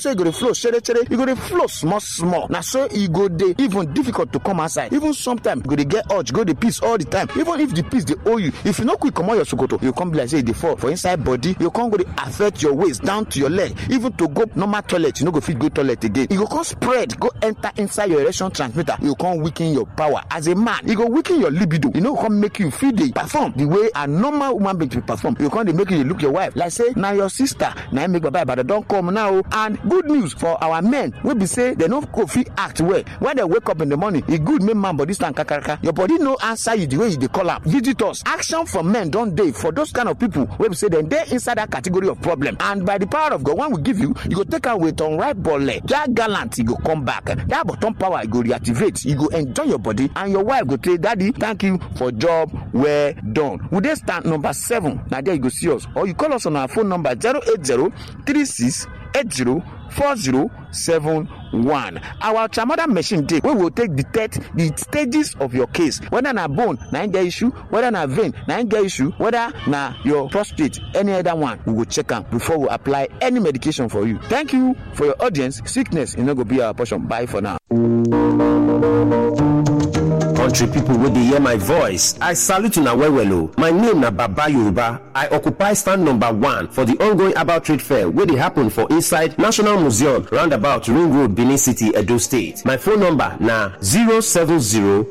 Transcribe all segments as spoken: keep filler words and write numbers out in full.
sotey e go dey flow shere shere, e go dey flow small small. Na so e go dey even difficult to come outside. Even sometimes you go dey get urge, go dey piss all the time. Even if the piss dey hold you, if you no quick comot your sokoto, you come be like say e dey fall for inside body. You come go dey affect your waist down to your leg. Even to go normal toilet, you no go fit go toilet again. E go come spread, go enter inside your erection transmitter. You come weaken your power. As a man, e go weaken your libido. E no go come make you fit dey perform the way a normal woman being dey perform. You come dey make you dey look your wife like say na your sister. Na im make Baba Ibadan don come now. And good news for our men wey be say dem no go fit act well. When dem wake up in the morning, e good make man body stand kakaraka. Your body no answer you the way you dey call am. Visitors, action from men don dey for those kind of people wey be say dem dey inside that category of problem. And by the power of God, when we give you, you go take am with unripe bole. That gallant, e go come back. That bottom power, e go reactivate. You go enjoy your body, and your wife go say, "Daddy, thank you for job well done." We dey stand number seven. Na there you go see us. Or you call us on our phone number, zero eight zero three six eight zero four zero seven one. Our ultramoder machine dey wey will take detect the stages of your case, whether na bone na im get issue, whether na vein na im get issue, whether na your prostate, any other one, we go check am before we apply any medication for you. Thank you for your audience. Sickness e no go be our portion. Bye for now. Country people wey dey hear my voice, I salute una well well o. My name na Baba Yoruba. I occupy stand number one for the ongoing herbal trade fair wey dey happen for inside National Museum, roundabout Ring Road, Benin City, Edo State. My phone number na zero seven zero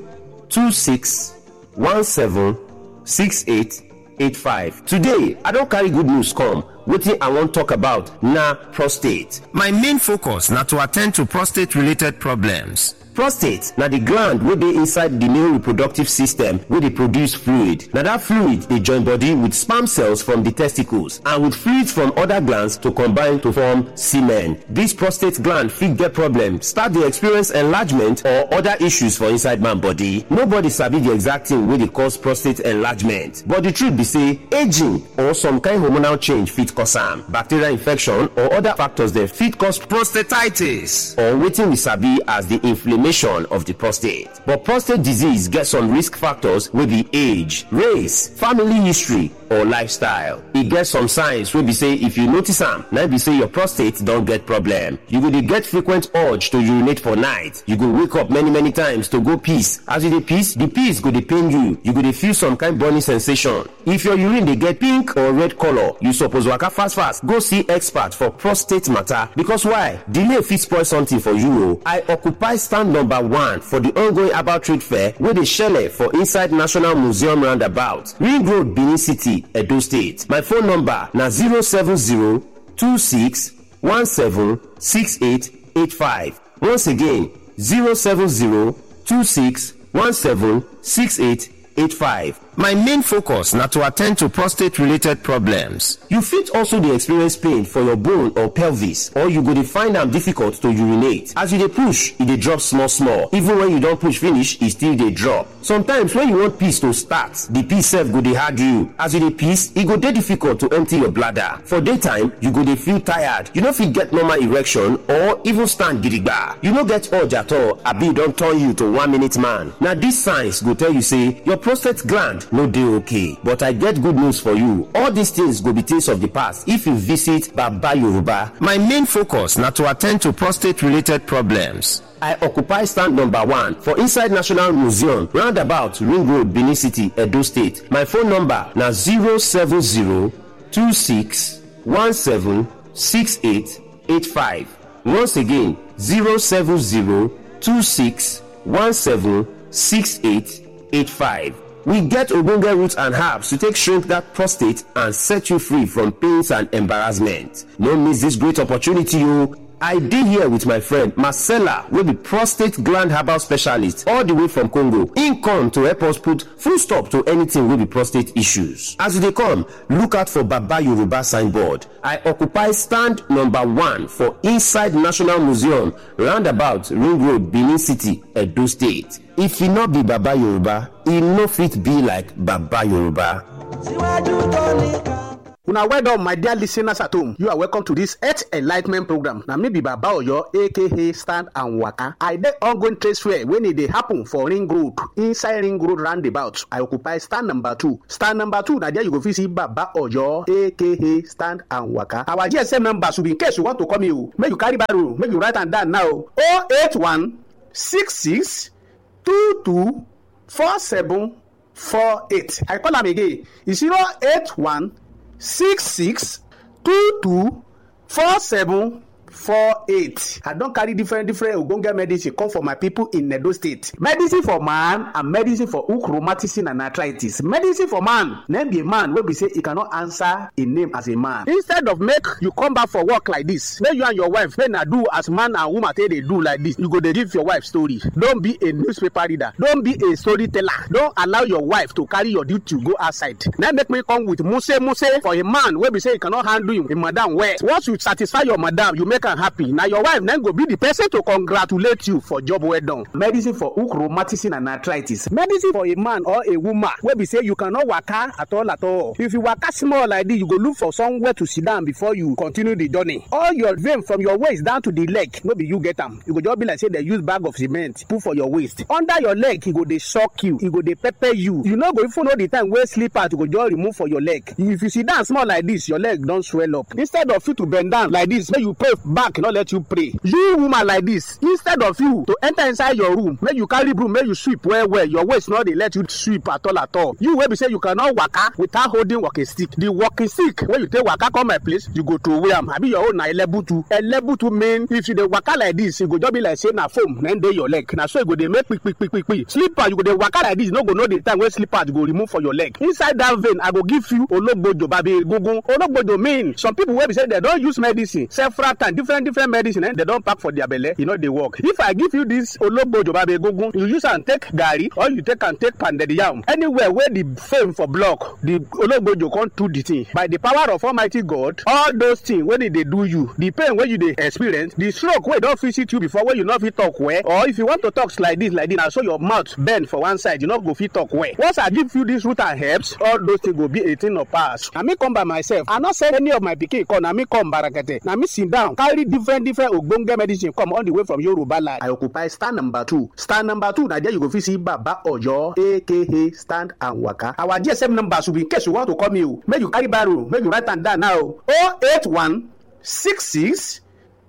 two six one seven six eight eight five. Today, I don carry good news come. Wetin I wan talk about na prostate. My main focus na to attend to prostate related problems. Prostate na the gland wey dey inside the male reproductive system wey dey produce fluid. Na that fluid dey join body with sperm cells from the testicles and with fluids from other glands to combine to form semen. This prostate gland fit get problem, start dey experience enlargement or other issues for inside man body. Nobody sabi the exact thing wey dey cause prostate enlargement, but the truth be say aging or some kind hormonal change fit cause am. Bacterial infection or other factors dem fit cause prostatitis, or wetin we sabi as the inflammation of the prostate. But prostate disease get some risk factors wey be age, race, family history, or lifestyle. E get some signs wey be say if you notice am, na be say your prostate don get problem. You go dey get frequent urge to urinate for night. You go wake up many many times to go piss. As you dey piss, the piss go dey pain you. You go dey feel some kind burning sensation. If your urine dey get pink or red color, you suppose waka fast fast go see expert for prostate matter, because why? Delay fit spoil something for you o. I occupy stand number one for the ongoing herbal trade fair wey dey shele for inside National Museum roundabout, Ring Road, Benin City, Edo State. My phone number na zero seven zero two six one seven six eight eight five. Once again, zero seven zero two six one seven six eight eight five. My main focus na to attend to prostate related problems. You fit also dey experience pain for your bone or pelvis, or you go dey find am difficult to urinate. As you dey push, e dey drop small small. Even when you don push finish, e still dey drop. Sometimes when you want piss to start, the piss sef go dey hard you. As you dey piss, e go dey difficult to empty your bladder. For daytime, you go dey feel tired. You no fit get normal erection or even stand gidigba. You no get urge at all, abi e don turn you to one minute man. Na these signs go tell you say your prostate gland no dey okay. But I get good news for you. All these things go be things of the past if you visit Baba Yoruba. My main focus na to attend to prostate related problems. I occupy stand number one for inside National Museum, roundabout Ring Road, Benin City, Edo State. My phone number na zero seven zero two six one seven six eight eight five. Once again, zero seven zero two six one seven six eight eight five. We get ogbonge roots and herbs to take shrink that prostate and set you free from pains and embarrassment. No miss this great opportunity o. I dey here with my friend Marcella, wey be prostate gland herbal specialist all the way from Congo. Im come to help us put full stop to anything wey be prostate issues. As you dey come, look out for Baba Yoruba signboard. I occupy stand number one for inside National Museum, roundabout Ring Road, Benin City, Edo State. If e no be Baba Yoruba, e no fit be like Baba Yoruba. Síwájú tó nìkan. Una well done, my dear listeners at home. You are welcome to this Health Enlightenment program. Na me be Baba Oyo, A K A Stand and Waka. I dey ongoing trade fair when e dey happen for Ring Road, inside Ring Road roundabout. I occupy stand number two. Stand number two, na there you go fit see Baba Oyo, A K A Stand and Waka. Our G S M number should be in case you want to call me o. Make you carry barrow, make you write am down now. Oh eight one six six two two four seven four eight. I call am again. It's zero eight one six six two two four seven four eight. I don carry different, different ogbonge medicine come for my people in Edo State. Medicine for man and medicine for hook, rheumatism and arthritis. Medicine for man, name be a man wey be say he cannot answer a name as a man. Instead of make you come back for work like this, make you and your wife, make na do as man and woman take dey do like this. You go dey give your wife story. Don't be a newspaper reader. Don't be a storyteller. Don't allow your wife to carry your duty go outside. Na make me come with muse muse for a man wey be say he cannot handle him, him madam well. Once you satisfy your madam, you make am happy. Na your wife na go be the person to congratulate you for job well done. Medicine for hook, rheumatism and arthritis. Medicine for a man or a woman wey be say you cannot waka at all at all. If you waka small like this, you go look for somewhere to sit down before you continue the journey. All your vein from your waist down to the leg, no be you get am. You go just be like say they use bag of cement put for your waist. Under your leg, e go dey shock you, e go dey pepper you. You no go even know the time wey slippers go just remove for your leg. If you sit down small like this, your leg don swell up. Instead of you to bend down like this, make you pray back, no let you pray. You woman like this, instead of you to enter inside your room, make you carry broom, make you sweep well well. Your waist no dey let you sweep at all at all. You wey be say you cannot waka without holding walking stick. The walking stick wey you take waka come my place, you go throw away am. Abi your own na elebutu. Elebutu mean if you dey waka like this, e go just be like say na foam na dey your leg. Na so e go dey make quick quick quick quick quick. Slipper, you go dey waka like this, you no go know the time wey slippers go remove for your leg. Inside that vein, I go give you ologbojo babi egungun. Ologbojo mean some people wey be say they don use medicine several times, different different medicine, eh, they don pack for their belle, e no dey work. If I give you this ologbojo babi egungun, you use am take garri or you take am take pounded yam, anywhere where the fame for block, the ologbojo come do the thing. By the power of Almighty God, all those things wey dey dey do you, the pain wey you dey experience, the stroke wey don visit you before, wey you no fit talk well, or if you want to talk like this, like this, na so your mouth bend for one side, you no go fit talk well. Once I give you this root and herbs, all those things go be a thing of past. Na me come by myself. I no send any of my pikin come. Na me come barakete. Na me sit down, carry different, different ogbonge medicine come all the way from Yoruba land. I occupy stand number two. Stand number two, na there you go fit see Baba Oyo, A K A Stand and Waka. Our G S M number should be in case you want to call me o. Make you carry barrow, make you write am down now. Oh eight one six six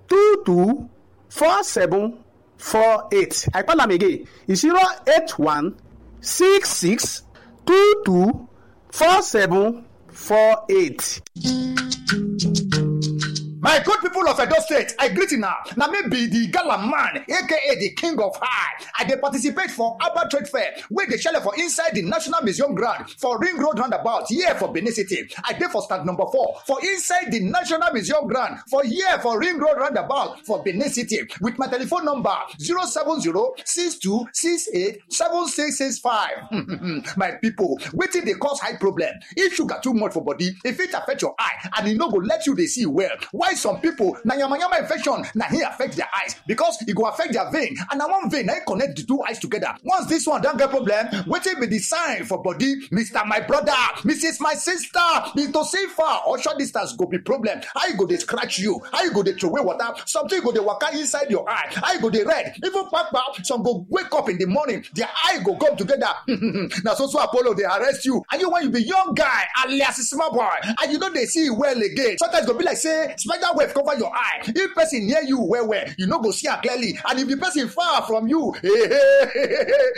two two four seven four eight. I call am again. It's zero eight one six six two two four seven four eight. My good people of Edo State, I greet you now. Now me be the gala man, A K A the king of high. I dey participate for Abba Trade Fair, wey dey shele for inside the National Museum ground for Ring Road roundabout here for Benin City. I dey for stand number four for inside the National Museum ground for here for Ring Road roundabout for Benin City with my telephone number zero seven zero six two six eight seven six six five. My people, wetin dey cause high problem? If sugar too much for body, e fit affect your eye and e no go let you dey see well. Why some people na yamayama infection na hin affect their eyes, because e go affect their vein and na one vein na hin connect the two eyes together. Once this one don get problem, wetin be the sign for body? Mister My brother, Missus My sister, be to see far or short distance go be problem. How you go dey scratch you? How you go dey throway water? Something go dey waka inside your eye. How you go dey red? Even kpakpa, some go wake up in the morning, their eye go come together. Na so so Apollo dey arrest you. And you when you be young guy, alias small boy, and you no dey see well again. Sometimes go be like say spider web cover your eye. If person near you well well, you no go see am clearly. And if the person far from you,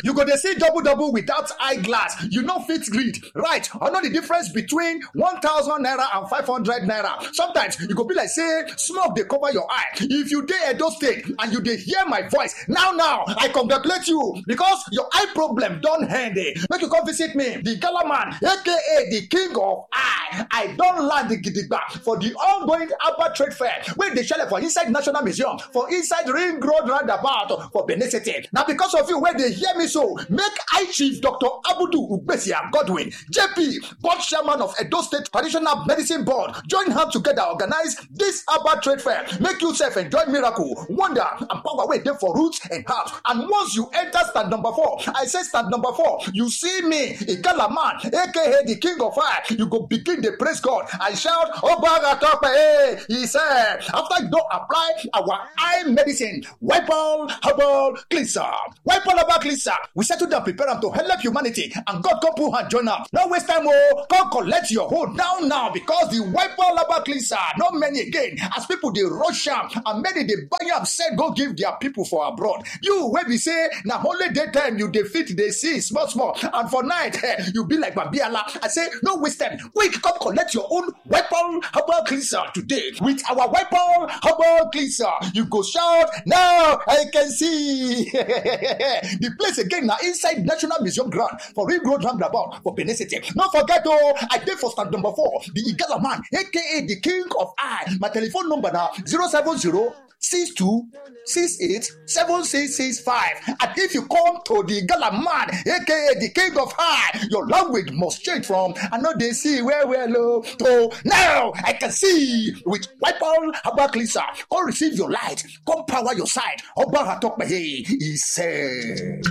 you go dey see double double without eyeglass. You no fit read, right? Or know the difference between one thousand naira and five hundred naira. Sometimes e go be like say smoke dey cover your eye. If you dey Edo State and you dey hear my voice now now, I congratulate you because your eye problem don end. Eh. Make you come visit me, the gala man, A K A the king of eye. I don land gidigba for the ongoing Abba Trade Fair wey dey shele for inside National Museum, for inside Ring Road roundabout for Benin City. Na because of you wey dey hear me so, make I Chief Doctor Abudu Ugbesia Godwin, J P, board chairman of Edo State Traditional Medicine Board, join hand together organize this Abba Trade Fair. Make yourself enjoy miracle, wonder, and power wey dey for roots and herbs. And once you enter stand number four, I say stand number four, you see me, Igala man, A K A the king of fire, you go begin They praise God and shout, "Obaga Tope!" He said, after you don't apply our eye medicine, wipe all herbal cleanser. Wipe all herbal cleanser. We settle down, prepare them to help humanity, and God come put hand join up. No waste time, oh, come collect your hold down now, because the wipe all herbal cleanser, not many again, as people they rush am, and many they buy am, said go give their people for abroad. You where we say, now only daytime you defeat the sea small, small, and for night, eh, you be like Babiala. I say, no waste time. Quick, come collect your own weapon herbal cleanser today. With our weapon herbal cleanser, you go shout, "Now I can see." The place again now inside National Museum ground for Ring Road roundabout for Benin City. No forget, oh, I dey for stand number four, the Igala man, A K A the King of Eye. My telephone number now, zero seven zero six two six eight seven six six five. And if you come to the Gala man, A K A the King of High, your language must change from "I know they see where we're low" to "Now I can see" with Wipe All Herbal Cleanser. Come receive your light, come power your side. Oba Atokpehe, he said.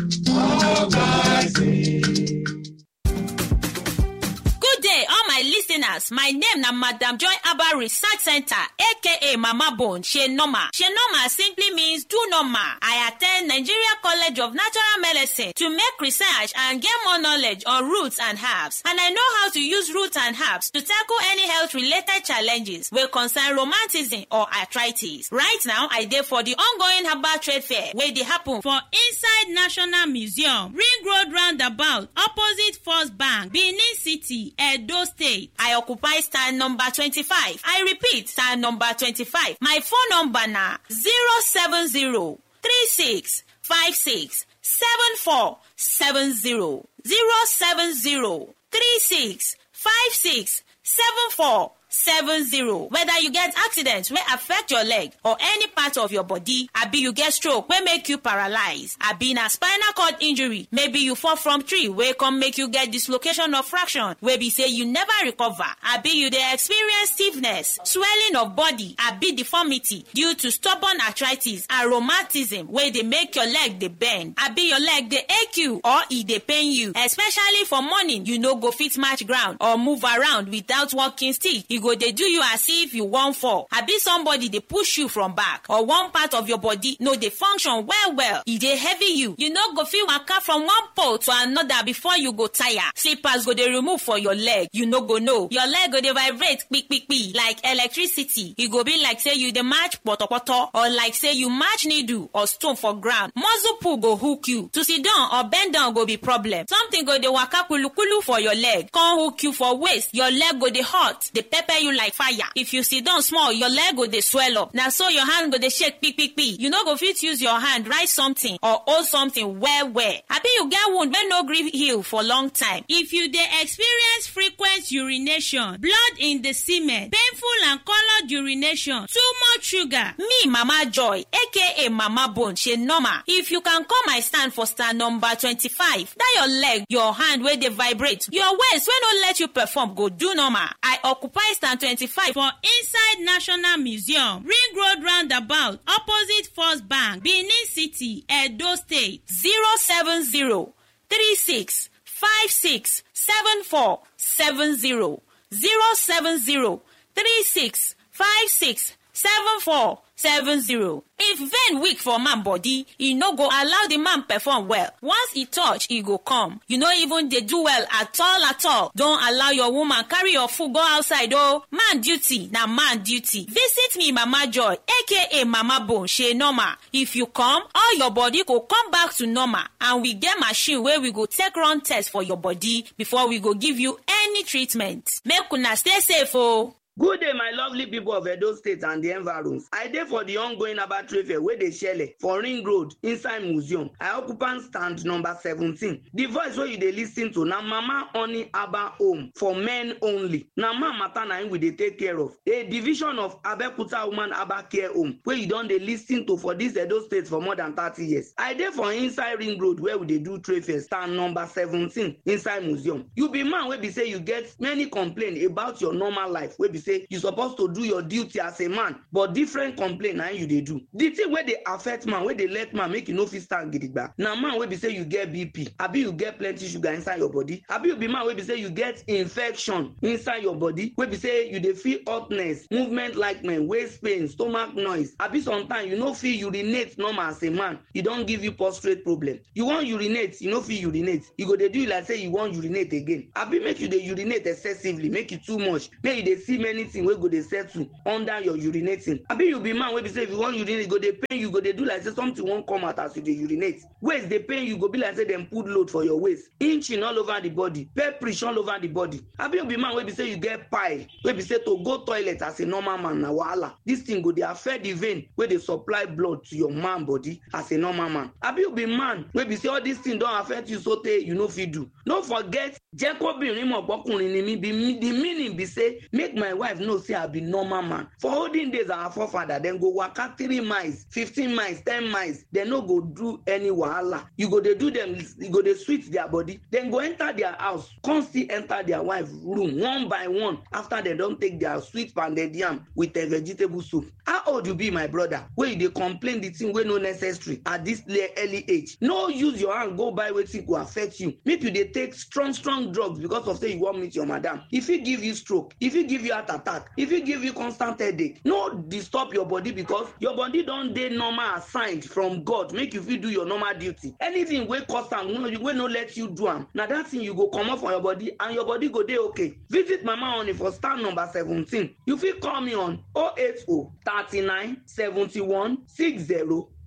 Good day, all my listeners. My name na Madam Joy Abba Research Center, A K A Mama Bone, She Normal. She Normal simply means do normal. I attend Nigeria College of Natural Medicine to make research and get more knowledge on roots and herbs. And I know how to use roots and herbs to tackle any health-related challenges wey concern rheumatism or arthritis. Right now, I dey for the ongoing herbal trade fair wey dey happen for inside National Museum, Ring Road roundabout, opposite First Bank, Benin City, Edo State. I occupy stand number twenty-five. I repeat, stand number twenty-five. My phone number na zero seven zero three six five six seven four seven zero. Zero seven zero three six five six seven four seven zero. Whether you get accident wey affect your leg or any part of your body, abi you get stroke wey make you paralyze, abi na spinal cord injury, maybe you fall from tree wey come make you get dislocation of fraction wey be say you never recover, abi you dey experience stiffness, swelling of body, abi deformity due to stubborn arthritis and rheumatism wey dey make your leg dey bend, abi your leg dey ache you or e dey pain you, especially for morning, you no go fit match ground or move around without walking stick. E go dey do you as if you wan fall, abi somebody dey push you from back, or one part of your body no dey function well well. E dey heavy you. You no go fit waka from one pole to another before you go tire. Slippers go dey remove for your leg. You no go know. Your leg go dey vibrate kpi kpi kpi like electricity. E go be like say you dey match potopoto, or like say you match needle or stone for ground. Muscle pull go hook you. To sit down or bend down go be problem. Something go dey waka kulu kulu for your leg, come hook you for waist. Your leg go dey hot, dey pepper you like fire. If you sit down small, your leg go dey swell up. Na so your hand go dey shake kpi kpi kpi. You no go fit use your hand write something or hold something well well. Abi you get wound wey no gree heal for long time. If you dey experience frequent urination, blood in the semen, painful and colored urination, too much sugar. Me, Mama Joy, A K A Mama Bone, She Normal. If you can come my stand for stand number twenty-five, that your leg, your hand wey dey vibrate, your waist wey no let you perform go do normal. I occupy stand twenty-five for inside National Museum, Ring Road roundabout, opposite First Bank, Benin City, Edo State. Zero seven zero three six five six seven four seven zero. Zero seven zero three six five six seven four seven zero. If vein weak for man body, e no go allow the man perform well. Once e touch, e go come. You no even dey do well at all at all. Don allow your woman carry your food go outside o. Man duty na man duty. Visit me, Mama Joy, A K A Mama Bone, She Normal. If you come, all your body go come back to normal, and we get machine wey we go take run test for your body before we go give you any treatment. Make una stay safe o. Good day, my lovely people of Edo State and the environs. I dey for the ongoing Abba Trade Fair wey dey shele for Ring Road inside museum. I occupant stand number seventeen. The voice wey you dey listen to na Mama Honey Abba Home for men only. Na man matter na im we dey take care of. A division of Abeokuta Woman Abba Care Home wey you don dey listen to for this Edo State for more than thirty years. I dey for inside Ring Road where we dey do trade fair, stand number seventeen inside museum. You be man wey be say you get many complaint about your normal life wey be say you suppose to do your duty as a man, but different complaint na you dey do. The thing wey dey affect man, wey dey let man make you no fit stand gidigba, na man wey be say you get B P, abi you get plenty sugar inside your body, abi you be man wey be say you get infection inside your body, wey be say you dey feel hotness, movement likeness, waist pain, stomach noise, abi sometimes you no fit urinate normal as a man, e don give you prostate problem. You wan urinate, you no fit urinate. You go dey do you like say you wan urinate again. Abi make you dey urinate excessively, make e too much. Make you dey see many things wey go dey settle under your urinating. Abi you be man wey be say if you wan urinate, e go dey pain you, go dey do like say something wan come out as you dey urinate. Waist dey pain you, go be like say dem put load for your waist. Inching all over the body, pepperish all over the body. Abi you be man wey be say you get pile, wey be say to go toilet as a normal man na wahala. This thing go dey affect the vein wey dey supply blood to your man body as a normal man. Abi you be man wey be say all this thing don affect you so tey you no fit do. No forget, jẹ́ kóbìnrin mọ̀ pọ́kùnrin ni mí. Be me-, the meaning be say, make my wife know say I be normal man. For olden days, our forefather, dem go waka three miles, fifteen miles, ten miles. Dem no go do any wahala. You go dey do them, you go dey sweet their body. Dem go enter their house, come still enter their wife room one by one after dem don take their sweet pounded yam with a vegetable soup. How old you be, my brother, wey you dey complain the thing wey no necessary at this le-, early age? No use your hand go buy wetin go affect you. Make you dey take strong, strong drugs because of say you wan meet your madam. E fit give you stroke, e fit give you heart attack, e fit give you constant headache. No disturb your body because your body don dey normal assigned from God make you fit do your normal duty. Anything wey cause am, wey no, wey no let you do am, na that thing you go comot for your body and your body go dey okay. Visit Mama Honey for stand number seventeen. You fit call me on oh eight oh thirty-nine seventy-one sixty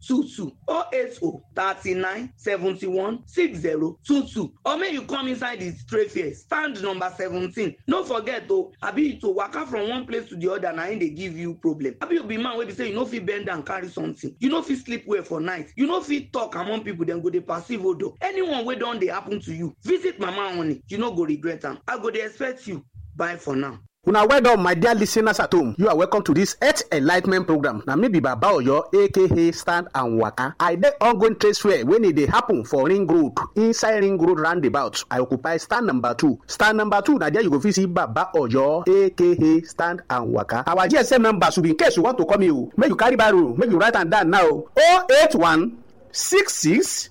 twenty-two, oh eight oh thirty-nine seventy-one sixty twenty-two, or make you come inside the trade fair, stand number seventeen. No forget o, abi to waka from one place to the other na im dey give you problem. Abi you be man wey be say you no fit bend down carry something, you no fit sleep well for night, you no fit talk among people, dem go dey perceive odo. Anyone wey don dey happen to you, visit Mama Honey, you no go regret am. I go dey expect you. Bye for now. Una well done, my dear listeners at home. You are welcome to this Earth Enlightenment program. Na me be Baba Oyo, A K A Stand and Waka. I dey ongoing trade fair when e dey happen for Ring Road, inside Ring Road roundabout. I occupy stand number two. Stand number two, na there you go fit see Baba Oyo, A K A Stand and Waka. Our G S M number should be in case you want to call me o. Make you carry barrow, make you write am down now. Oh eight one six six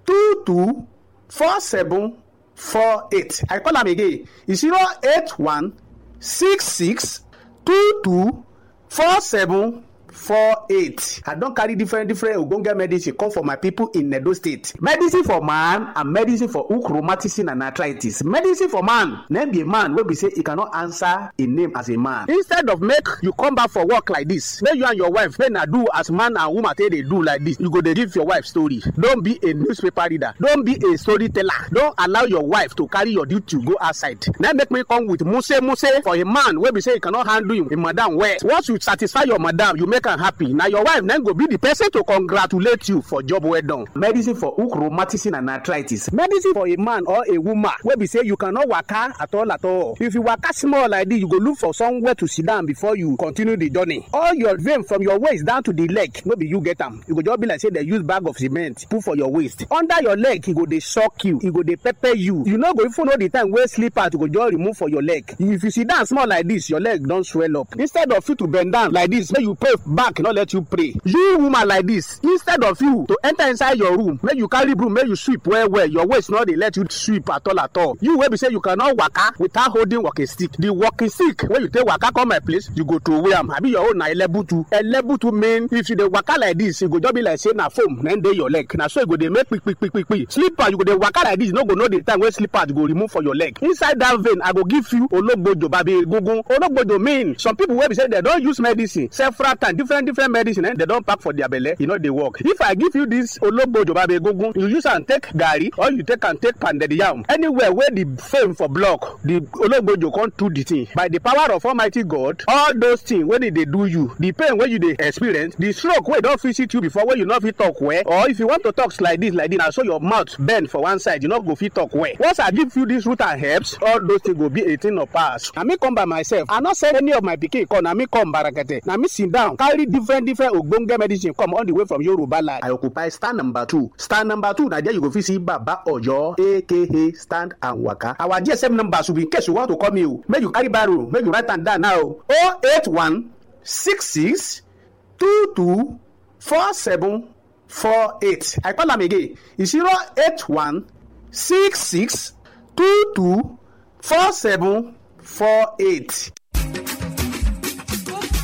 two two four seven four eight. I call am again. It's zero eight one six six two two four seven four eight. I don carry different, different ogbonge medicine come for my people in Edo State. Medicine for man and medicine for hook, rheumatism and arthritis. Medicine for man, name be a man wey be say he cannot answer a name as a man. Instead of make you come back for work like this, make you and your wife, make na do as man and woman take dey do like this. You go dey give your wife story. Don't be a newspaper reader. Don't be a storyteller. Don't allow your wife to carry your duty go outside. Na make me come with muse muse for a man wey be say he cannot handle him, him madam well. Once you satisfy your madam, you make am happy. Na your wife na go be the person to congratulate you for job well done. Medicine for hook, rheumatism and arthritis. Medicine for a man or a woman wey be say you cannot waka at all at all. If you waka small like this, you go look for somewhere to sit down before you continue the journey. All your vein from your waist down to the leg, no be you get am. You go just be like say they use bag of cement put for your waist. Under your leg, e go dey shock you, e go dey pepper you. You no go even know the time wey slipper to go just remove for your leg. If you sit down small like this, your leg don swell up. Instead of you to bend down like this, make you pray back, no let you pray. You woman like this, instead of you to enter inside your room, make you carry broom, make you sweep well well. Your waist no dey let you sweep at all at all. You wey be say you cannot waka without holding walking stick. The walking stick wey you take waka come my place, you go throw away am. Abi your own na elebutu. Elebutu mean if you dey waka like this, e go just be like say na foam na dey your leg. Na so e go dey make quick quick quick quick quick. Slipper, you go dey waka like this, you no go know the time wey slipper go remove for your leg. Inside that vein, I go give you ologbojo babi egungun. Ologbojo mean some people wey be say they don use medicine several times, different different medicine, eh, they don pack for their belle, e no dey work. If I give you this ologbojo babi egungun, you use am take garri or you take am take pounded yam. Anywhere where the fame for block, the ologbojo come do the thing. By the power of Almighty God, all those things wey dey dey do you, the pain wey you dey experience, the stroke wey don visit you before, wey you no fit talk well, or if you want to talk like this, like this, na so your mouth bend for one side, you no go fit talk well. Once I give you this root and herbs, all those things go be a thing of past. Na me come by myself. I no send any of my pikin come. Na me come barakete. Na me sit down, carry different, different ogbonge medicine come all the way from Yoruba land. I occupy stand number two. Stand number two, na there you go fit see Baba Oyo, A K A Stand and Waka. Our G S M number should be in case you want to call me o. Make you carry barrow, make you write am down now. Oh eight one six six two two four seven four eight. I call am again. It's zero eight one six six two two four seven four eight.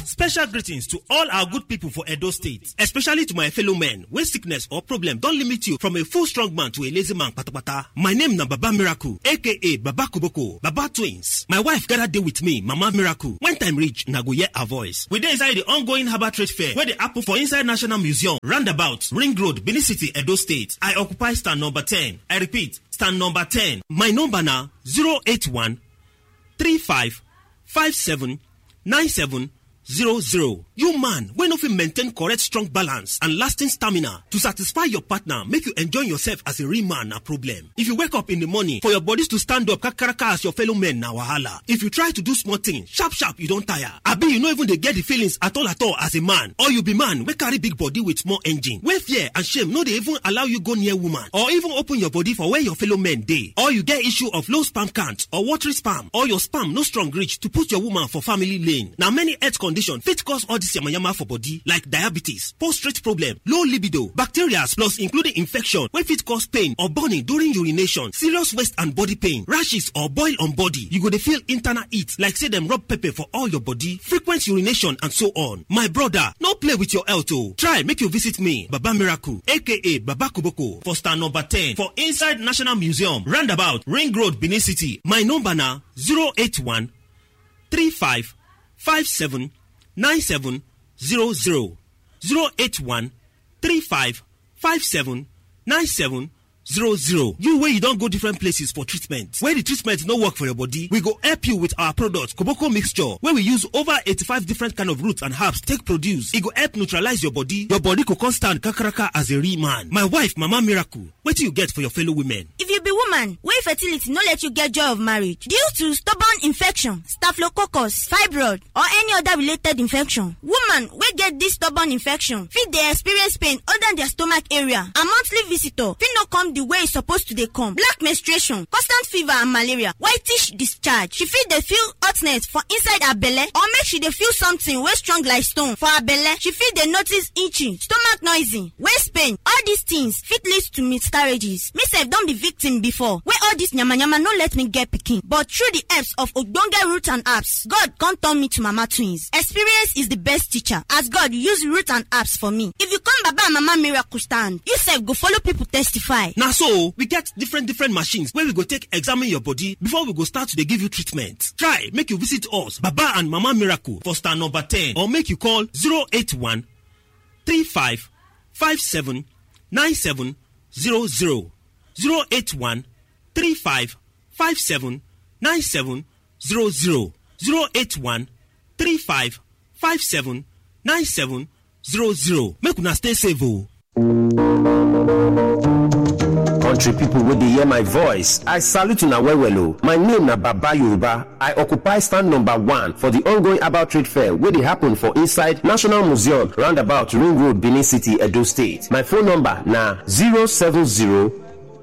Special greetings to all our good people for Edo State, especially to my fellow men wey sickness or problem don limit you from a full strong man to a lazy man patapata. My name na Baba Miracle, A K A Baba Koboko, Baba Twins. My wife gather dey with me, Mama Miracle. When time reach, una go hear her voice. We dey inside the ongoing Herbal Trade Fair wey dey happen for inside National Museum, roundabout, Ring Road, Benin City, Edo State. I occupy stand number ten. I repeat, stand number ten. My number na zero eight one three five five seven nine seven zero zero. You man wey no fit maintain correct strong balance and lasting stamina to satisfy your partner, make you enjoy yourself as a real man na problem. If you wake up in the morning for your bodies to stand up kakaraka as your fellow men na wahala. If you try to do small thing, sharp sharp you don tire. Abi you no even dey get the feelings at all at all as a man. Or you be man wey carry big body with small engine, wey fear and shame no dey even allow you go near woman or even open your body for where your fellow men dey. Or you get issue of low sperm count or watery sperm, or your sperm no strong reach to put your woman for family lane. Na many health condition fit cause all this yamayama for body, like diabetes, prostate problem, low libido, bacteria, plus including infection wey fit cause pain or burning during urination, serious waist and body pain, rashes or boil on body. You go dey feel internal heat like say dem rub pepper for all your body, frequent urination and so on. My brother, no play with your health o. Try make you visit me, Baba Miracle, A K A Baba Koboko, for stand number ten for inside National Museum, roundabout, Ring Road, Benin City. My number na zero eight one three five five seven nine seven zero zero. Zero eight one three five five seven nine seven zero zero. You wey you don go different places for treatment, wey the treatment no work for your body, we go help you with our product, Koboko Mixture, wey we use over eighty-five different kind of roots and herbs take produce. E go help neutralize your body. Your body go come stand kakaraka as a real man. My wife, Mama Miracle, wetin you get for your fellow women? If you be woman wey fertility no let you get joy of marriage due to stubborn infection, staphylococcus, fibroid, or any other related infection, woman wey get this stubborn infection fit dey experience pain under their stomach area, and monthly visitor fit no come the way e suppose to dey come, black menstruation, constant fever and malaria, whitish discharge. She fit dey feel hotness for inside her belle, or make she dey feel something wey strong like stone for her belle. She fit dey notice itching, stomach noisy, waist pain. All these things fit lead to miscarriages. Me sef don be victim before, wey all this yamayama no let me get pikin. But through the helps of ogbonge root and herbs, God come turn me to Mama Twins. Experience is the best teacher, as God use root and herbs for me. If you come Baba and Mama Miracle stand, you sef go follow people testify. Na so, we get different different machines wey we go take examine your body before we go start to dey give you treatment. Try make you visit us, Baba and Mama Miracle, for stand number ten, or make you call zero eight one three five five seven nine seven zero zero. Zero eight one three five five seven nine seven zero zero. Zero eight one three five five seven nine seven zero zero. Make una stay safe o. Country people wey dey hear my voice, I salute una well well o. My name na Baba Yoruba. I occupy stand number one for the ongoing Herbal Trade Fair wey dey happen for inside National Museum, roundabout Ring Road, Benin City, Edo State. My phone number na zero seven zero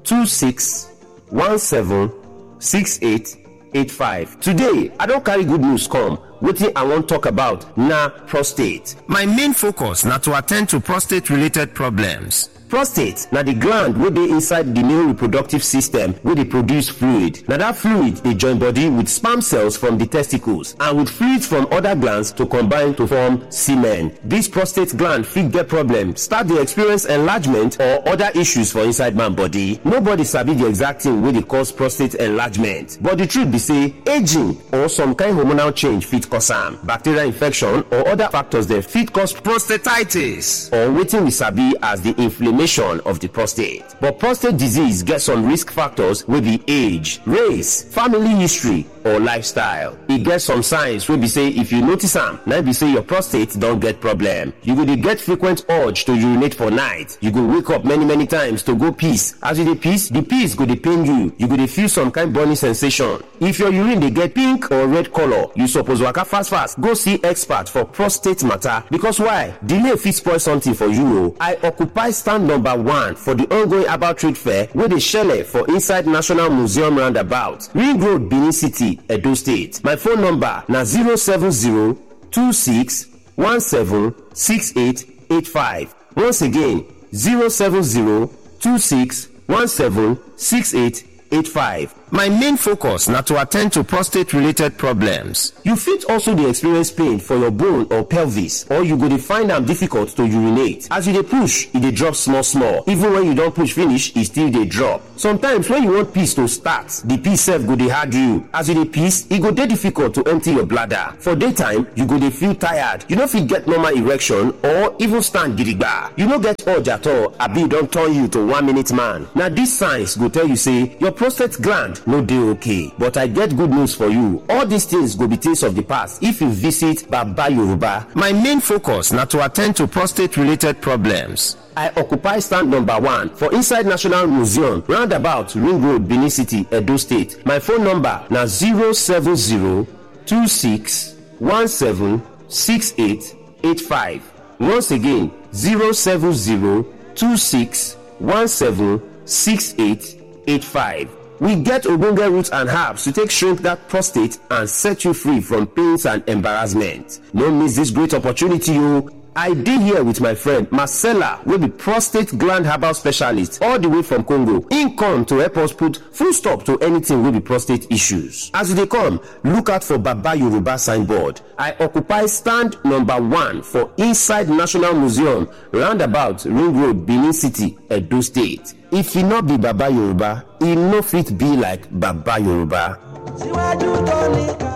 two six one seven six eight eight five. Today, I don carry good news come. Wetin I wan talk about na prostate. My main focus na to attend to prostate related problems. Prostate na the gland wey dey inside the male reproductive system wey dey produce fluid. Na that fluid dey join body with sperm cells from the testicles and with fluids from other glands to combine to form semen. This prostate gland fit get problem, start dey experience enlargement or other issues for inside man body. Nobody sabi the exact thing wey dey cause prostate enlargement, but the truth be say aging or some kind hormonal change fit cause am. Bacterial infection or other factors dem fit cause prostatitis, or wetin we sabi as the inflammation of the prostate. But prostate disease get some risk factors wey be age, race, family history, or lifestyle. E get some signs wey be say if you notice am, na be say your prostate don get problem. You go dey get frequent urge to urinate for night. You go wake up many many times to go piss. As you dey piss, the piss go dey pain you. You go dey feel some kind burning sensation. If your urine dey get pink or red color, you suppose waka fast fast go see expert for prostate matter, because why? Delay fit spoil something for you o. I occupy stand number one for the ongoing herbal trade fair wey dey shele for inside National Museum roundabout, Ring Road, Benin City, Edo State. My phone number na zero seven zero two six one seven six eight eight five. Once again, zero seven zero two six one seven six eight eight five. My main focus na to attend to prostate related problems. You fit also dey experience pain for your bone or pelvis, or you go dey find am difficult to urinate. As you dey push, e dey drop small small. Even when you don push finish, e still dey drop. Sometimes when you want piss to start, the piss sef go dey hard you. As you dey piss, e go dey difficult to empty your bladder. For daytime, you go dey feel tired. You no fit get normal erection or even stand gidigba. You no get urge at all, abi e don turn you to one minute man. Na these signs go tell you say your prostate gland no dey okay. But I get good news for you. All these things go be things of the past if you visit Baba Yoruba. My main focus na to attend to prostate related problems. I occupy stand number one for inside National Museum, roundabout Ring Road, Benin City, Edo State. My phone number na zero seven zero two six one seven six eight eight five. Once again, zero seven zero two six one seven six eight eight five. We get ogbonge roots and herbs to take shrink that prostate and set you free from pains and embarrassment. No miss this great opportunity, o. I dey here with my friend Marcella, wey be prostate gland herbal specialist all the way from Congo. Im come to help us put full stop to anything wey be prostate issues. As you dey come, look out for Baba Yoruba signboard. I occupy stand number one for inside National Museum, roundabout Ring Road, Benin City, Edo State. If e no be Baba Yoruba, e no fit be like Baba Yoruba. Síwájú tó nìkan.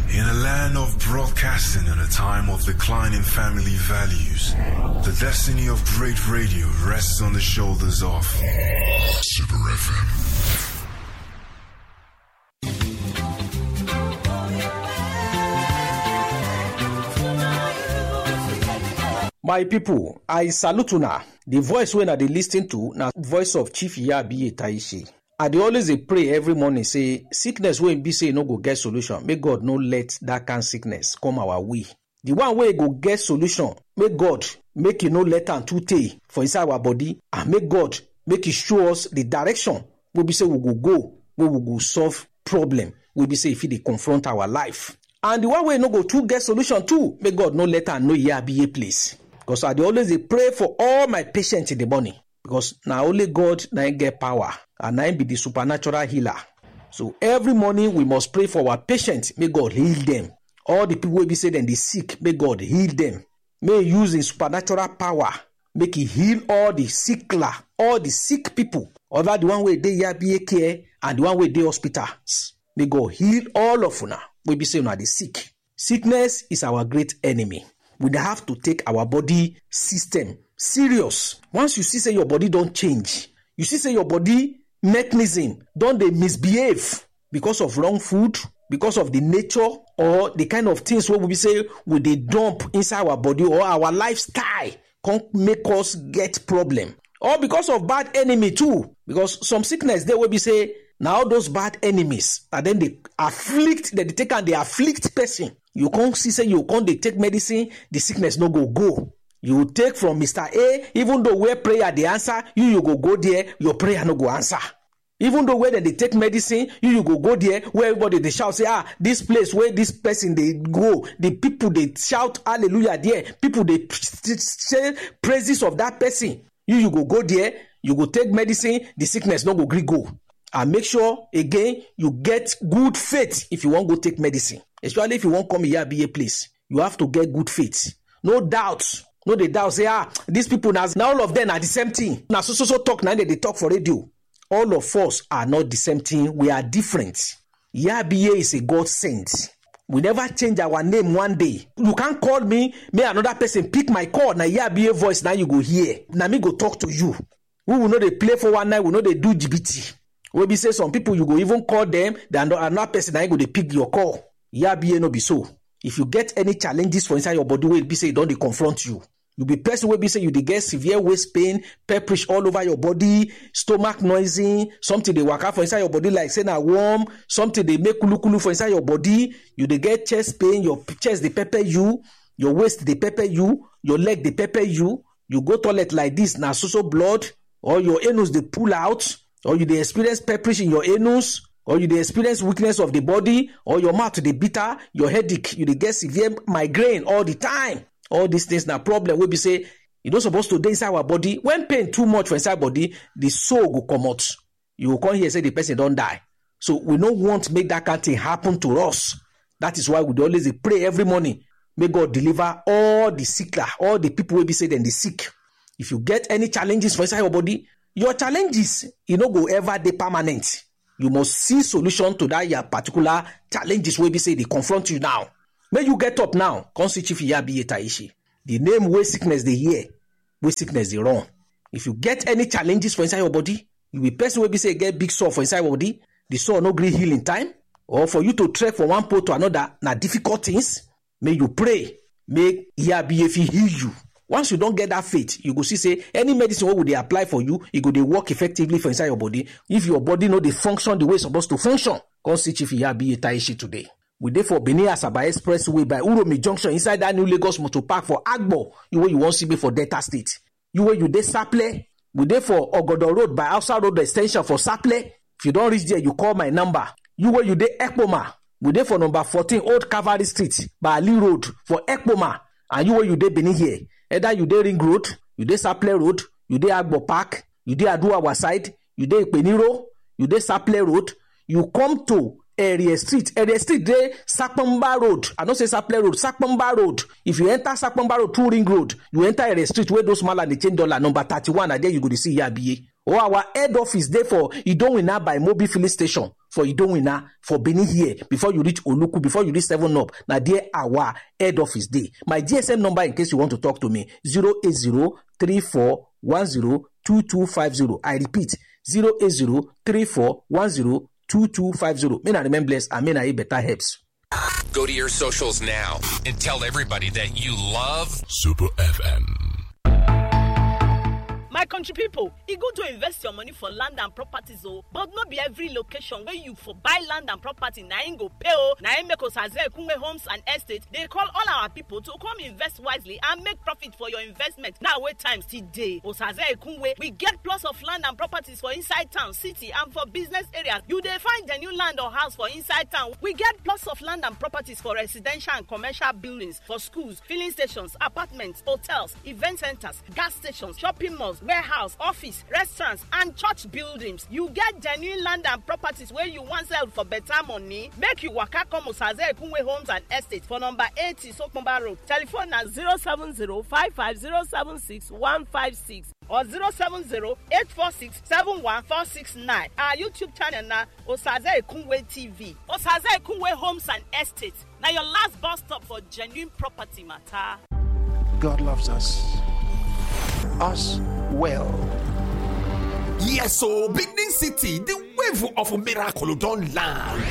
In a land of broadcasting and a time of declining family values, the destiny of great radio rests on the shoulders of Super F M. My people, I salute una. The voice wey una dey listen to na voice of Chief Yabiye Taishi. I dey always dey pray every morning say sickness wey be say e no go get solution, make God no let that kind sickness come our way. The one wey go get solution, make God make e no let am too tey for inside our body, and make God make e show us the direction wey be say we go go, wey we go solve problem wey be say e fit dey confront our life. And the one wey no go too get solution too, make God no let am know Yabiye place. Because I dey always dey pray for all my patients in the morning. Because na only God na im get power, and na im be the supernatural healer. So every morning we must pray for our patients, make God heal them. All the people wey be say dem dey sick, make God heal them. May he use his supernatural power, make he heal all the sickler, all the sick people, whether the one wey dey Yabiye care and the one wey dey hospitals. May God heal all of una wey be say una dey sick. Sickness is our great enemy. We dey have to take our body system serious. Once you see say your body don change, you see say your body mechanism don dey misbehave because of wrong food, because of the nature or the kind of things wey we be say we dey dump inside our body, or our lifestyle come make us get problem, or because of bad enemy too, because some sickness dey wey be say na all those bad enemies na dem dey afflict, dem dey take am dey afflict person. You come see say you come dey take medicine, the sickness no go go. You take from Mister A, even though where prayer dey answer, you, you go go there, your prayer no go answer. Even though where dem dey take medicine, you, you go go there where everybody dey shout say, ah, this place where this person dey go, the people dey shout hallelujah there, people dey say praises of that person. You, you go go there, you go take medicine, the sickness no go gree go. And make sure again you get good faith if you wan go take medicine, especially if you wan come Iyabiye place. You have to get good faith. No doubt. No dey doubt say, ah, these people na, na all of them na the same thing. Na so so so talk na dem dey talk for radio. All of us are not the same thing. We are different. Yabiye is a God sent. We never change our name one day. You can't call me, may another person pick my call. Na Yabiye voice now you go hear. Na me go talk to you. We will know they play for one night. We know they do G B T. Wey be say some people you go even call them, then another person na go dey pick your call. Yeah, B A no be so. If you get any challenges for inside your body, wey be say e don dey confront you, you be person wey be say you dey get severe waist pain, pepperish all over your body, stomach noisy, something dey waka for inside your body like say na worm, something dey make kulukulu for inside your body, you dey get chest pain, your p- chest dey pepper you, your waist dey pepper you, your leg dey pepper you, you go toilet like this, na so so blood, or your anus dey pull out, or you dey experience pepperish in your anus, or you dey experience weakness of the body, or your mouth dey bitter, your headache, you dey get severe migraine all the time. All these things na problem wey be say e no suppose to dey inside our body. When pain too much for inside body, the soul go comot. You go come hear say the person don die. So we no want make that kind thing happen to us. That is why we dey always dey pray every morning. May God deliver all the sick, all the people wey be say dem dey sick. If you get any challenges for inside your body, your challenges, e no go ever dey permanent. You must see solution to that your particular challenges wey be say dey confront you now. May you get up now, come see Chief Iyabiye Taishi. The name wey sickness dey hear, wey sickness dey run. If you get any challenges for inside your body, you be person wey be say get big sore for inside your body, the sore no gree heal in time, or for you to trek from one pole to another na difficult things. May you pray, make Iyabiye fit heal you. Once you don get that faith, you go see say any medicine wey we dey apply for you, e go dey work effectively for inside your body. If your body no dey function the way e suppose to function, come see Chief Iyabiye Taishi today. We dey for Benin Asaba Expressway by Uromi Junction, inside that new Lagos Motor Park for Agbo. You wey you wan see me for Delta State. You wey you dey Saple, we dey for Ogodo Road by Hausa Road Extension for Saple. If you don reach there, you call my number. You wey you dey Ekpoma, we dey for number fourteen Old Cavalry Street by Ali Road for Ekpoma. And you wey you dey Benin here, either you dey Ring Road, you dey Saple Road, you dey Agbo Park, you dey Aduawa side, you dey Ipeniro, you dey Saple Road, you come to Area Street. Area Street dey Sapamba Road. I no say Saple Road, Sapamba Road. If you enter Sapamba Road through Ring Road, you enter Area Street where those mala dey change dollar, number thirty-one, na there you go dey see Iyabiye. Or our head office dey for Idowina by Mobi filling station for Idowina for Benin here. Before you reach Oluku, before you reach Seven Up, na there our head office dey. My G S M number in case you want to talk to me, zero eight zero three four one zero two two five zero. I repeat, zero eight zero three four one zero two two five zero. May na remain blessed and may na eat better herbs. Go to your socials now and tell everybody that you love Super F M. My country people, e good to invest your money for land and properties o, but no be every location wey you for buy land and property na im go pay o. Na im make Osaze Ekunwe Homes and Estate dey call all our people to come invest wisely and make profit for your investment. Now wey time still dey, Osaze Ekunwe, we get plots of land and properties for inside town, city and for business areas. You dey find the new land or house for inside town. We get plots of land and properties for residential and commercial buildings, for schools, filling stations, apartments, hotels, event centers, gas stations, shopping malls, warehouse, office, restaurants, and church buildings. You get genuine land and properties wey you wan sell for better money? Make you waka come Osaze Ekunwe Homes and Estate for number eighty Sokomba Road. Telephone na zero seven zero five five zero seven six one five six or zero seven zero eight four six seven one four six nine. Our YouTube channel na Osaze Ekunwe T V. Osaze Ekunwe Homes and Estate. Na your last bus stop for genuine property matter. God loves us. Us well. Yes, so Benin City, the wave of miracle don land.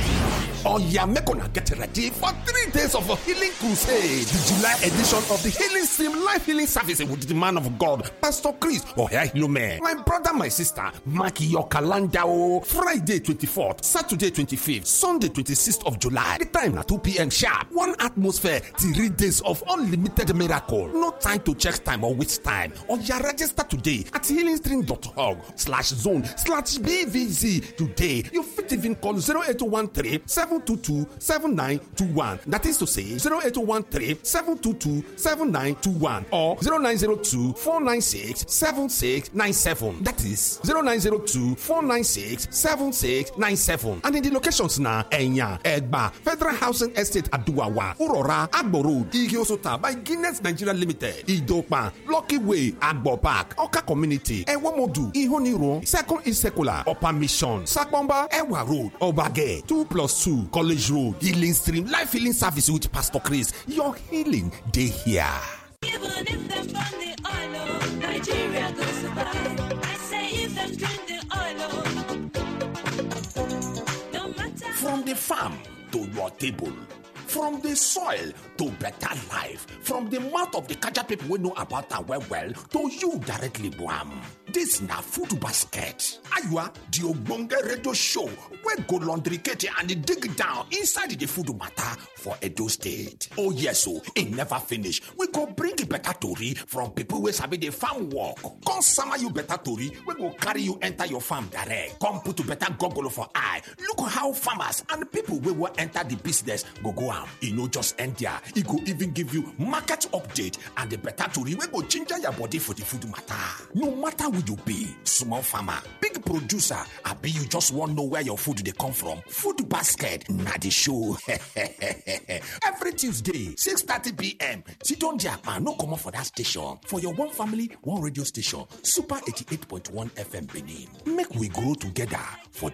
Oh yeah, make una get ready for three days of a healing crusade. The July edition of the Healing Stream Life Healing Service with the man of God, Pastor Chris Oyahilume. My brother, my sister, mark your calendar o. Friday twenty-fourth, Saturday twenty-fifth, Sunday twenty-sixth of July. The time na two p.m. sharp. One atmosphere, three days of unlimited miracle. No time to check time or waste time. Or you register today at healingstream dot org slash zone slash B V Z today. You fit even call zero eight one three seven two two seven nine two one. That is to say, zero eight one three seven two two seven nine two one or zero nine zero two four nine six seven six nine seven. That is zero nine zero two four nine six seven six nine seven. And in the locations na Enya, Egba, Federal Housing Estate Aduwawa, Urora, Agbo Road, Ige Osota by Guinness Nigeria Limited, Idopa, Lucky Way, Agbo Park, Oka Community, Ewomodu, Ihoniro, Second Isekula, Upper Mission, Sakbomba, Ewa Road, Obage, two plus two, College Road, Healing Stream, Life Healing Service with Pastor Chris. Your healing dey here. Even if dem burn the oil, oh, Nigeria go survive. I say if dem drink the oil, oh. Farm to your table. From the soil to better life. From the mouth of the Kaja people we know about am well well to you directly, Buam. This na Food Basket. Ayua, the ogbonge radio show wey go laundricate and dig down inside the food matter for Edo State. Oh yes, so e never finish. We go bring better tori from people wey sabi the farm work. Come sama you better tori wey go carry you enter your farm direct. Come put better goggle for eye. Look how farmers and people wey wan enter the business go go am. E no just end there. E go even give you market update and the better tori wey go ginger your body for the food matter. No matter who you be, small farmer, big producer, abi you just wan know where your food dey come from, Food Basket na the show. Every Tuesday, six thirty p m, sit down there and no comot for that station for your one family, one radio station, Super eighty-eight point one F M Benin. Make we grow together for